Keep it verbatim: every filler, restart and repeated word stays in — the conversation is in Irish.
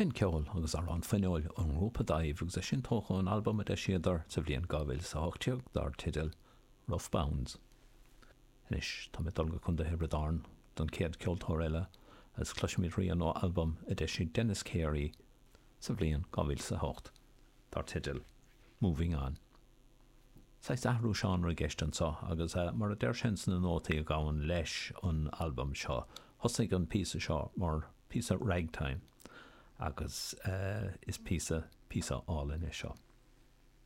B'in ceol agus amhrán fuinniúil ón ngrúpa Daimh agus é sin tógtha ón albam a d'eisíodar sa bhliain dhá mhíle is a hocht déag dar teideal Rough Bounds. Anois tá mé ag dul go Contae Thiobraid Árann don chéad ceoltóir eile agus cloisfimid rian ó albam a d'eisigh Denis Carey sa bhliain dhá mhíle is a hocht dar teideal Moving On. Saghas athrú seánra i gceist anseo agus mar a deir sé sna nótaí a ghabhann leis an albam seo, thosaigh an píosa seo mar píosa ragtime agus uh, is píosa píosa álainn é seo.